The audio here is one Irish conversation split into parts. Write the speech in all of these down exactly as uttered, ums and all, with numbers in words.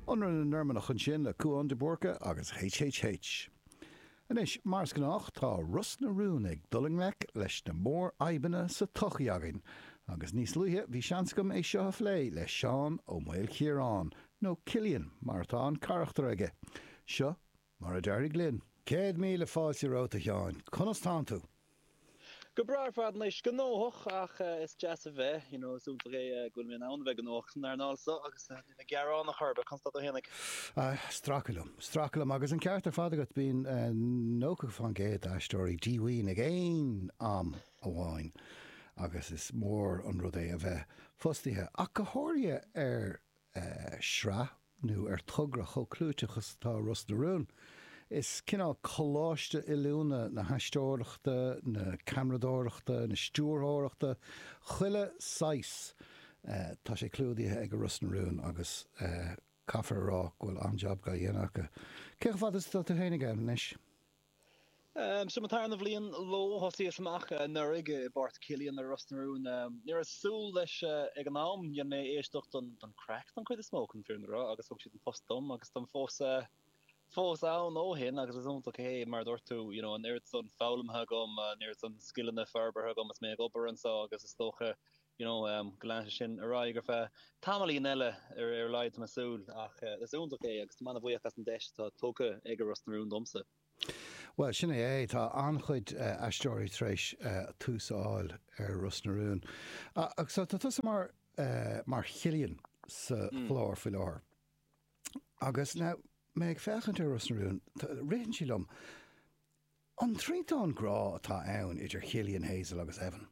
Ionradh na Normannach ansin le Cúán de Búrca agus HHH. Anois, mar is gnách, tá Ros na Rún ag dul i ngleic leis na mórfhadhbanna sa tsochaí againn, agus níos luaithe bhí seans agam é seo a phlé le Seán Ó Maoilchiaráin, nó Cillian mar atá an carachtar aige. Seo mar a d'éirigh linn. Céad míle fáilte romhat, a Sheáin. Conas tánn tú? Go breá ar fad anois, gnóthach ach is deas a bheith, you know, is iontach é go bhfuil mé in ann a bheith gnóthach san earnáil seo agus níl mé gearánach ar bith. Conas tá tú fhéinig? Stracadh liom, stracadh liom agus an ceart ar fad agat, bíonn nócha fán gcéad d'aisteoirí díomhaoin ag aon am amháin agus is mór an rud é a bheith fostaithe ach go háirithe ar sraith nó ar togra chomh clúiteach is atá Ros na Rún. Is cineál coláiste oiliúna na haisteoireachta, na ceamaradóireachta, na stiúrthóireachta, chuile saghas, tá sé clúdaithe ag Ros na Rún agus caithfear a rá go bhfuil an-jab dhá dhéanamh acu. Cé chomh fada is atá tú féinig ann anois? Seo mo tarna bhliain leo. Thosaíos amach anuraidh i bpáirt Cillian ar Ros na Rún. Ní raibh súil leis ag an am. Dhein mé éisteacht don don craic don chuid is mó, chun an fírinne a rá, agus thug siad an post dom agus táim fós fós ann ó shin agus is iontach é, mar a dúirt tú, you know, an oiread san foghlamtha agam, an oiread san scileanna forbartha agam is mé ag obair anseo agus is dócha you know, go leanfaidh sé sin ar aghaidh ar feadh tamaillín eile ar ar a laghad, tá mé ag súil. Ach is iontach é agus táim an-bhuíoch as an deis atá tugtha ag Ros na Rún domsa. Bhuel, sin é é. Tá an-chuid aisteoirí tar éis tús a fháil ar Ros na Rún. Agus tá tusa mar mar Chillian sa chlár faoi láthair. Agus now, mé ag féachaint ar Ros na Rún, ritheann sé liom, an triantán grá atá ann idir Chillian, Hazel agus Evan?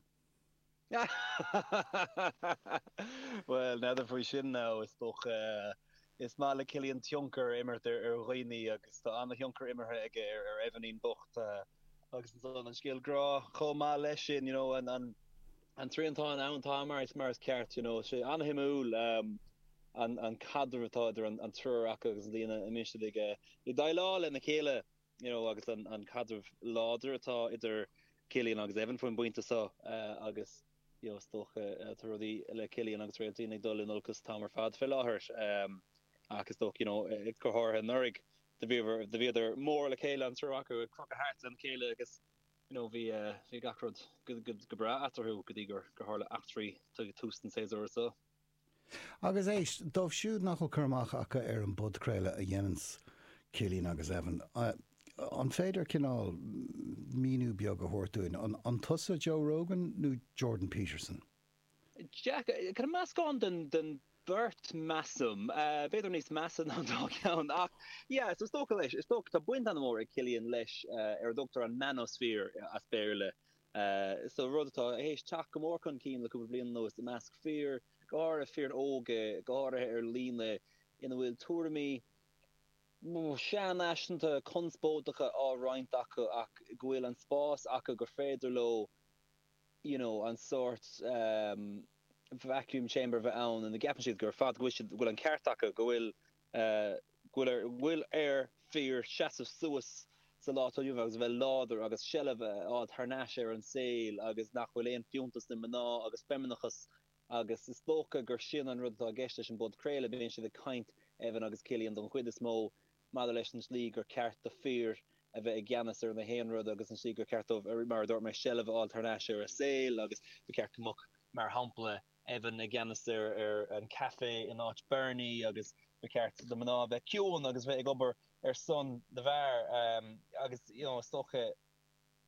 Bhuel, n'fheadar faoi sin now, is dócha. Is maith le Cillian tionchar a imirt ar dhaoine agus tá an-thionchar imeartha aige ar Evanín bocht agus ansan an scéal grá chomh maith leis sin, you know, an an triantán ann tá mar is mar is ceart, you know, sé an-shuimiúil an an caidreamh atá idir an triúr acu agus an líon a mbíonn siad ag ag déileáil lena chéile, you know, agus an an caidreamh láidir atá idir Cillian agus Evan faoin bpointe seo agus you know, is dócha tá rudaí le Cillian agus Réaltín ag dul in olcas an t-am ar fad fé láthair ach is dócha, you know, go háirithe anuraidh do bhíodar do bhíodar mór le chéile an triúr acu ag crochadh thart lena chéile agus you know, bhí bhí gach rud go go go breá eatarthu go dtí gur gur tharla eachtraí ag tús an tséasúir seo. Agus éist, dóibh siúd nach bhfuil cur amach acu ar an bpodchraoladh a dhéananns Cillian agus Evan, an féidir cineál míniú beag a thabhairt dúinn? An tusa Joe Rogan nó Jordan Peterson? Jack, kind of meascán den den bheirt, measaim. B'fhéidir níos measa ná an dá cheann ach yeah, so is dócha leis, is dócha, tá baint an-mhór ag Cillian leis ar a dtugtar an manosphere as Béarla. So rud atá théis teacht go mór chun cinn le cúpla bliain anuas i measc fir, go háirithe fir óga, go háirithe ar líne, ina bhfuil tuairimí seanfhaiseanta conspóideacha á roinnt acu ach go bhfuil an spás acu gur féidir leo you know an sórt vacuum chamber a bheith ann ina gceapann siad gur fad go bhfuil siad go bhfuil an ceart acu, go bhfuil go bhfuil ar bhfuil ar fir seasamh suas sa lá atá inniu agus a bheith láidir agus seilbh a fháil thar n-ais ar an saol agus nach bhfuil aon fiúntas le mná agus feimineachas agus is dócha gur sin an rud atá i gceist leis an bpodchraoladh. Bíonn siad ag caint, Evan agus Cillian don chuid is mó, maidir leis an slí gur ceart do fir a bheith i gceannas ar na haon rud agus an slí gur ceart dóibh, mar a dúirt mé, seilbh a fháil thar n-ais ar a saol agus ba cheart go mbeadh, mar shampla, Evan i gceannas ar ar an caife in áit Bernie agus ba cheart do mná a bheith ciúin agus bheith ag obair ar son na bhfear agus you know is dócha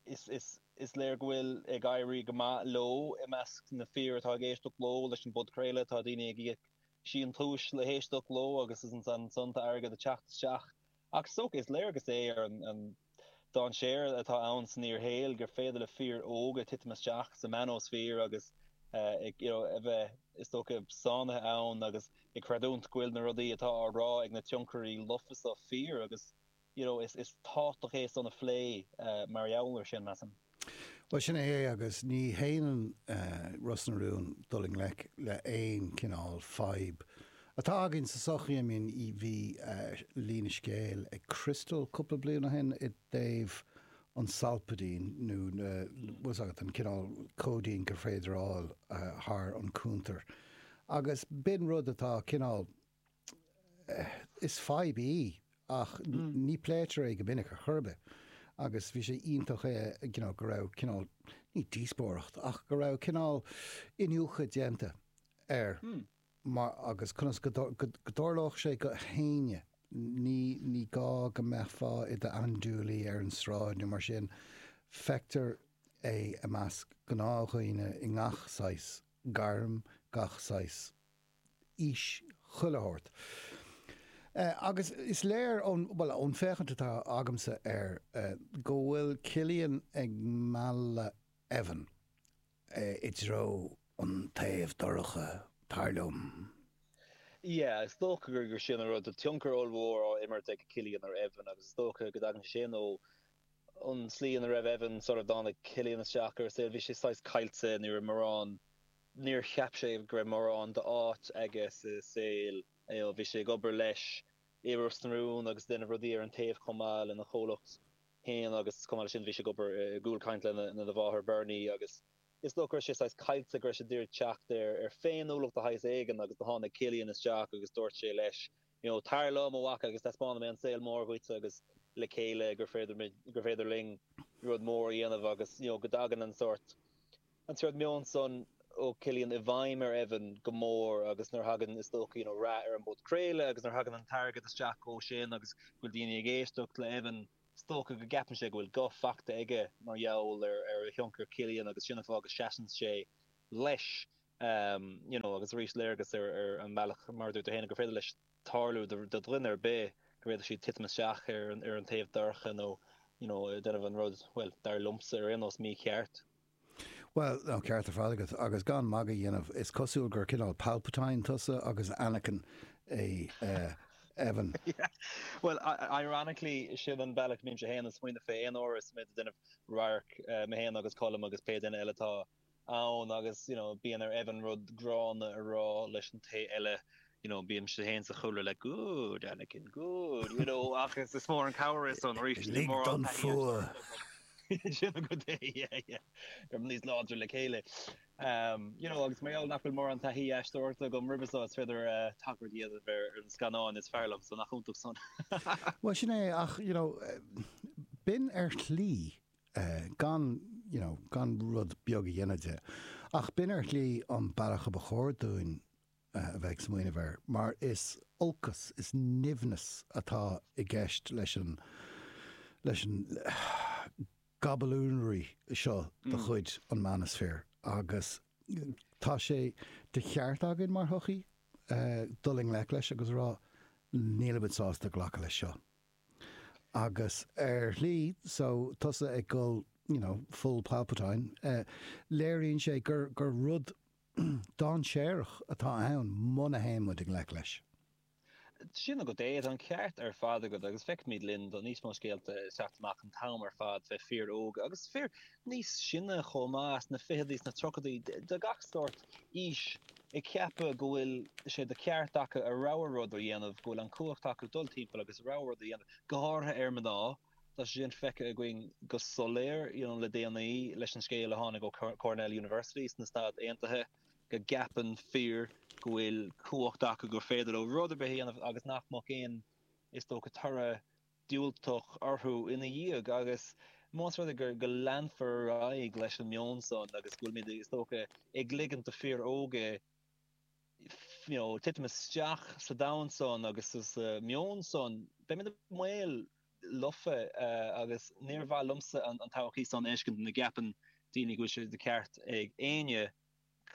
is is is léir go bhfuil ag éirí go maith leo i measc na fir atá ag éisteacht leo leis an bpodchraoladh. Tá daoine ag íoc síntiúis le héisteacht leo agus is ansan tá airgead ag teacht isteach. Ach is dócha, is léargas é ar an dainséar atá ann san fhíorshaol gur féidir le fir óga titim isteach sa manosphere agus a bheith, is dócha, sáinnithe ann agus ag creidiúint go bhfuil na rudaí atá á rá ag na tionchairí lofa seo fíor agus you know is tábhachtach é san a phlé mar gheall air sin, measaim. Bhuel, sin é é agus ní shéanann Ros na Rún dul i ngleic le aon chineál fadhb atá againn sa tsochaí. I mean, bhí líne scéil ag Crystal cúpla bliain ó shin i dtaobh an Solpadeine nó na, bhfuil 's agat, an cineál cóidín gur féidir a fháil thar an cuntar agus b'in rud atá cineál is fadhb í ach ní pléitear é go minic ar chor ar bith. Agus bhí sé iontach é you know, go raibh cineál ní díospóireacht ach go raibh cineál iniúchadh déanta air mar agus conas go dtarlódh sé go héinne ní ní gá go mbeifeá i d'andúilí ar an sráid nó mar sin feictear é i measc gnáthdhaoine i ngach saghas gairm, gach saghas aois, chuile shórt. Agus is léir ón, bhuel, ón féachaint atá agamsa air go bhfuil Cillian ag mealladh Evan i dtreo an taobh dorcha, dar liom. Yeah, is dócha gur gur sin an rud, tá tionchar ollmhór á imirt ag Cillian ar Evan agus is dócha go dtagann sé sin ó an tslí ina raibh Evan sort of dtáinig Cillian isteach ar a saol, bhí sé saghas caillte, ní raibh mórán, níor cheap sé go raibh mórán d'áit aige sa saol. Bhí sé ag obair leis i Ros na Rún agus ag déanamh rudaí ar an taobh chomh maith lena chomhlacht féin agus chomh maith leis sin bhí sé ag obair i gCúlcaint lena mháthair Bernie agus is dócha go raibh sé saghas caillte, go raibh sé ag iarraidh teacht ar féiniúlacht de shaghas éigin agus do tháinig Cillian isteach agus dúirt sé leis you know tar liom a mhac agus taispeánfaidh mé an saol mór dhuit agus le chéile gur féidir gur féidir linn rud mór a dhéanamh agus you know go dtagann an sórt an sórt meon san ó Cillian i bhfeidhm ar Evan go mór agus nuair a thagann is dócha you know rath ar an bpodchraoladh agus nuair a thagann an t-airgead isteach ó sin agus go bhfuil daoine ag éisteacht le Evan is dócha go gceapann sé go bhfuil guth faighte aige mar gheall ar ar thionchar Cillian agus sin an fáth go seasann sé leis um you know agus arís léargas ar ar an mbealach mar a dúirt tú féin gur féidir leis tarlú do do dhuine ar bith go bhféadfadh siad titim isteach ar an ar an taobh dorcha nó you know déanamh an rud bhuel dar liomsa ar aon nós mícheart. Bhuel, an ceart ar fad agat, agus gan magadh a dhéanamh, is cosúil gur cineál Palpatine tusa agus Anakin é Evan. Bhuel, ironically, sin an bealach a mbímse féin ag smaoineamh fé aon uair is muid ag déanamh radharc, mé féin agus Colm agus pé duine eile atá ann agus, you know, bíonn ar Evan rud gránna a rá leis an té eile you know, bímse féin sa chúlra like, good, Anakin, good, you know, ach is is mór an cabhair é san arís, ní Lig mórán don taithí fuath. Sin agat é, yeah, yeah. Gur níos láidre le chéile. Um, you know, agus mar gheall nach bhfuil mórán taithí aisteoireachta agam roimhe seo, is féidir uh, tagairt a dhéanamh ar ar na scannáin is fearr liom, so nach iontach san. Bhuel, sin é, ach, you know, eh, b'in ar shlí, eh, gan, you know, gan rud beag a dhéanamh de, ach b'in ar shlí an bealach a ba chóir dúinn a bheith ag smaoineamh air, mar is olcas, is nimhneas atá i gceist leis an, leis an gabbalúnraí seo de chuid an manosphere agus tá sé de cheart againn mar shochaí dul i ngleic leis agus a rá nílimid sásta glacadh leis seo. Agus ar shlí, so tusa ag dul, you know, full Palpatine, léiríonn sé gur, gur rud dainséarach atá ann muna théann muid i ngleic leis. Sin agat é, tá an ceart ar fad agat agus feicimid linn tá níos mó scéalta ag teacht amach an t-am ar fad fé fir óga agus fir níos sine chomh maith, sna fichidí, sna tríochaidí, de gach sórt aois ag ceapadh go bhfuil sé de cheart acu a rogha rud a dhéanamh, go bhfuil an chumhacht acu dul timpeall agus a rogha rud a dhéanamh, go háirithe ar mná. Tá sé sin feicthe againn go soiléir you know le déanaí leis an scéal a tháinig ó Cornell University sna Stáit Aontaithe go gceapann fir go bhfuil cumhacht acu gur féidir leo rud ar bith a dhéanamh agus nach mbeadh aon, is dócha, toradh diúltach orthu ina dhiaidh agus más rud é gur go leanfar ar aghaidh leis an meon san agus go bhfuilimid, is dócha, ag ligint do fir óga you know titim isteach sa domhan san agus sa meon san, beimid i mbaol lofa agus níor mhaith liomsa an todhchaí san a fheiscint ina gceapann daoine go bhfuil sé de cheart ag éinne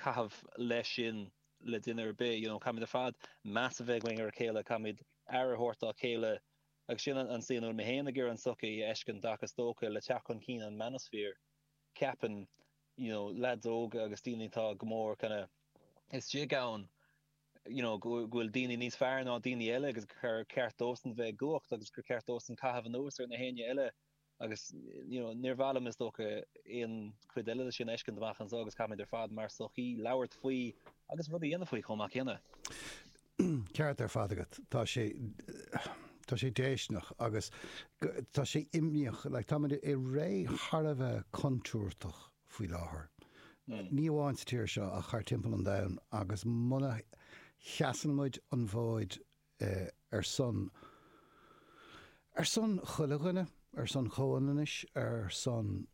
caitheamh leis sin le duine ar bith. You know, caithfimid ar fad meas a bheith againn ar a chéile, caithfimid aire a thabhairt dá chéile agus sin an tslí ina bhfuil mé féin ag iarraidh an tsochaí a fheiscint ach is dócha le teacht chun cinn an manosphere ceapann you know, leaids óga agus daoine atá go mór kind of istigh ann you know, go bhfuil daoine níos fearr ná daoine eile agus gur ceart dósan bheith i gcumhacht agus gur ceart dósan caitheamh anuas ar na héinne eile agus you know, níor mhaith liom is dócha aon chuid eile de sin a fheiscint amach anseo agus caithfimid ar fad mar sochaí labhairt faoi agus rud a dhéanamh faoi chomh maith céanna. Ceart ar fad agat. Tá sé tá sé déistineach agus tá sé imníoch. Like, táimid i ré thar a bheith contúirteach faoi láthair. Ní amháin sa tír seo ach thar timpeall an domhain agus muna sheasann muid an fód ar son ar son chuile dhuine, ar son comhionannais, ar son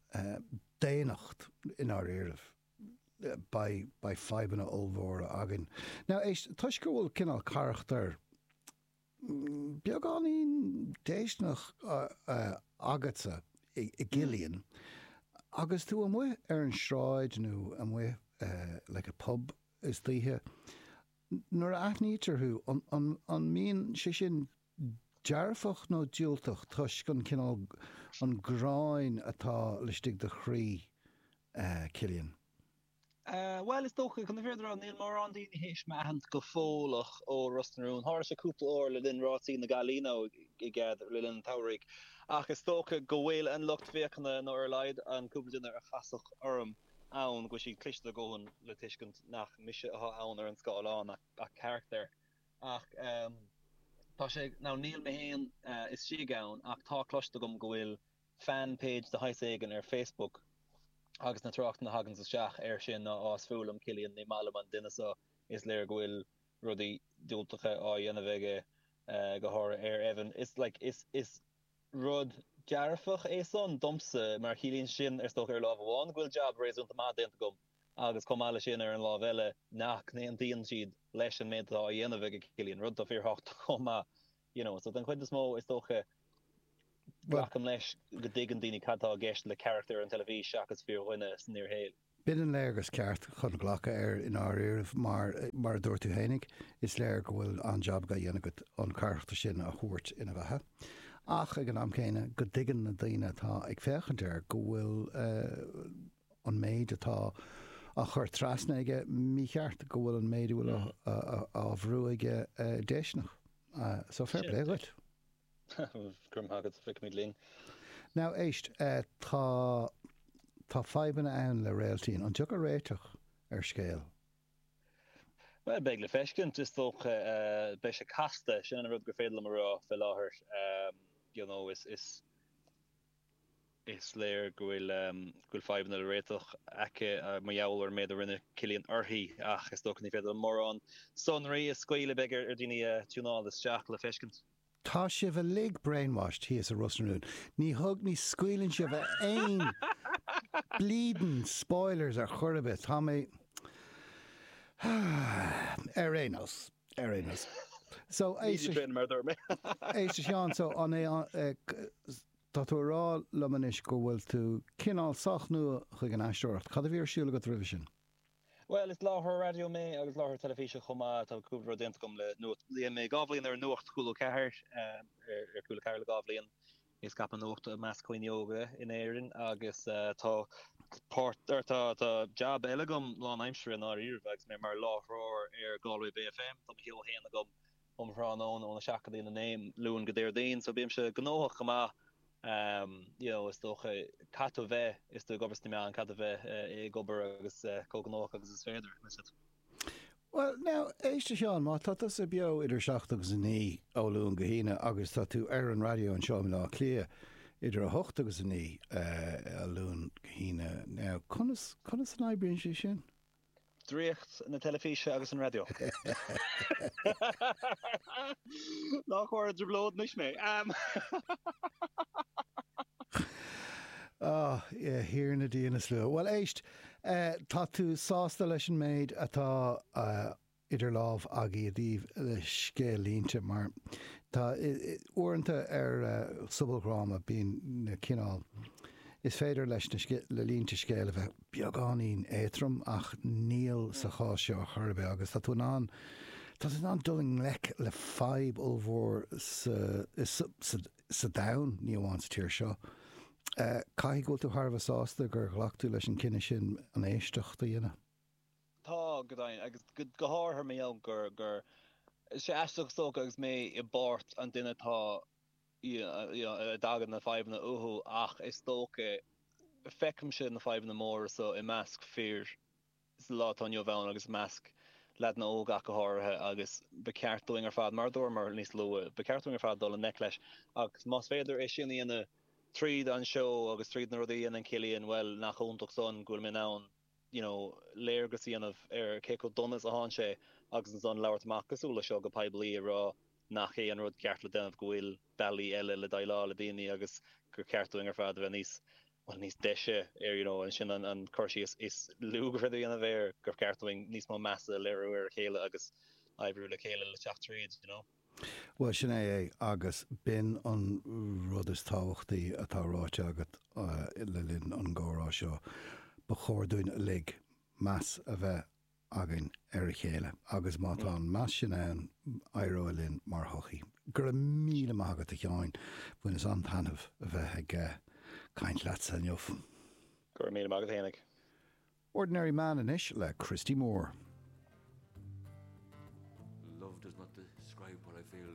daonnacht i ndáiríribh, beidh beidh fadhbanna ollmhóra againn. Now éist, toisc go bhfuil cineál carachtar beagáinín déistineach agatsa i gCillian, agus tú amuigh ar an sráid nó amuigh like i pub istoíche, nuair a aithnítear thú, an an mbíonn sé sin dearfach nó diúltach toisc an cineál, an ghráin atá laistigh de chroí Cillian? Bhuel, is dócha, chun na fírinne a rá, níl mórán daoine théis m'aithint go fóilleach ó Ros na Rún. Tharla sé cúpla uair le linn Rásaí na gCailíní nó i gcead le linn an tsamhraidh, ach is dócha go bhfuil an lucht féachana, nó ar a laghad an cúpla duine a chasfadh orm ann, go bhfuil siad cliste a dhóthain le tuiscint nach mise atá ann ar an scáileán ach carachtar. Ach tá sé, now níl mé féin istigh ann ach tá cloiste agam go bhfuil fan page de shaghas éigin ar Facebook agus na tráchtanna a thaganns isteach air sin ná á is fuath liom Cillian, ní maith liom an duine seo, is léir go bhfuil rudaí diúltacha á dhéanamh aige go háirithe ar Evan. Is like is is rud dearfach é san domsa mar ciallaíonn sin is dócha ar lámh amháin go bhfuil jab réasúnta maith déanta agam agus chomh maith leis sin ar an lámh eile nach n-aontaíonn siad leis an méid atá á dhéanamh ag Cillian, rud atá fíorthábhachtach chomh maith you know. So den chuid is mó is dócha glacaim leis go dtuigeann daoine cad tá i gceist le carachtar ar an teilifís seachas fíordhuine san fhíorshaol. B'in an léargas ceart chun glacadh air i ndáiríribh mar, mar a dúirt tú fhéinig, is léir go bhfuil an-jab á dhéanamh agat an carachtar sin a thabhairt ina bheatha. Ach ag an am céanna go dtuigeann na daoine atá ag féachaint air go bhfuil an méid atá á chur trasna aige mícheart, go bhfuil an méid a bhfuil á bhrú aige déistineach. So fair play dhuit. Go raibh maith agat, feicfimid linn. Now éist, tá tá fadhbanna ann le Réaltín. An dtiocfaidh réiteach ar scéal? Bhuel, beidh le feiscint, is dócha. Beidh sé casta, sin an rud gur féidir liom a rá fé láthair. You know, is, is, is léir go bhfuil, go bhfuil fadhbanna le réiteach aici mar gheall ar an méid a rinne Cillian uirthi ach is dócha ní féidir liom mórán sonraí a scaoileadh, beidh ar dhaoine tiúnáil isteach le feiscint. Tá sibh uilig brainwashed thíos i Ros na Rún. Ní thug, ní scaoileann sibh aon bleedin spoilers ar chor ar bith. Tá mé ar aon nós, ar aon nós. So, Easy train mar a dúirt mé. éist a Sheáin, so an é, tá tú ag rá liom anois go bhfuil tú cineál sách nua chuig an aisteoireacht. Cad a bhí ar siúl agat roimhe sin? Bhuel, is láithreoir raidió mé agus láithreoir teilifíse chomh maith. Tá cúpla rud déanta agam le Nuacht. Dhein mé dhá bhliain ar an Nuacht Cúla Ceathair, ar Cúla Ceathair le dhá bhliain ag scaipeadh nuachta i measc dhaoine óga in Éirinn agus tá páirt, or tá, tá jab eile agam lánaimseartha i ndáiríribh agus mé mar láithreoir ar Galway Bay FM. Tá mo sheó féin agam um thráthnóna óna seacht go dtí a naoi, Luan go Déardaoin, so bímse gnóthach go maith. You know, is dócha, caithfidh tú a bheith, is tú ag obair sna meáin, caithfidh tú a bheith ag obair agus chomh gnóthach agus is féidir, meas tú. Bhuel, now, éist a Sheáin, má tá tusa beo idir seacht agus a naoi ó Luan go hAoine agus tá tú ar an raidió anseo i mBaile Átha Cliath idir a hocht agus a naoi ó Luan go hAoine, now, conas, conas an oibríonn sé sin? Draíocht na teilifíse agus an raidió. Ná cuir i dtrioblóid anois mé. Ah, a Thiarna Dia na Slua. Bhuel, éist, tá tú sásta leis an méid atá idir lámh agaibh i dtaobh le scéal-línte, mar tá, uaireanta ar sobaldhráma bíonn na cineál, is féidir leis na le línte scéil a bheith beagáinín éadtrom ach níl sa chás seo ar chor ar bith agus tá tú in ann, tá tú in ann dul i ngleic le fadhb ollmhór sa, sa, sa domhan, ní amháin sa tír seo. Caithfidh go bhfuil tú thar a bheith sásta gur ghlac tú leis an cinneadh sin an éisteacht a dhéanamh. Tá, go deimhin, agus go háirithe mar gheall gur, gur, is sé aisteach is dócha agus mé i bpáirt an duine atá, you know, a dtagann na fadhbanna uathu ach is dócha, feicimse na fadhbanna móra so i measc fir sa lá atá inniu ann agus i measc leaideanna óga ach go háirithe agus ba cheart dúinn ar fad, mar a dúramar níos luaithe, ba cheart dúinn ar fad dul i ngleic leis agus más féidir é sin a dhéanamh tríd an seó agus tríd na rudaí a dhéanann Cillian, bhuel, nach iontach san go bhfuil mé in ann you know, léargas a dhéanamh ar cé chomh dona is atánn sé agus ansan labhairt amach cosúil le seo go poiblí ag rá nach é an rud ceart le déanamh go bhfuil bealaí eile le déileáil le daoine agus gur ceart dúinn ar fad a bheith níos well níos deise ar you know sin an an cur síos is lú gur féidir a dhéanamh air gur ceart dúinn níos mó measa a léiriú ar a chéile agus oibriú le chéile le teacht tríd you know. Bhuel sin é é agus b'in an rud is tábhachtaí atá ráite agat le linn an gcomhrá seo. Ba chóir dúinn uilig meas a bheith againn ar a chéile agus má tá an meas sin ann, éireoidh linn mar shochaí. Go raibh míle maith agat a Sheáin, bhaineas an-taitneamh a bheith ag caint leatsa inniu. Go raibh míle maith agat fhéinig. Ordinary Man anois le Christy Moore. Love does not describe what I feel.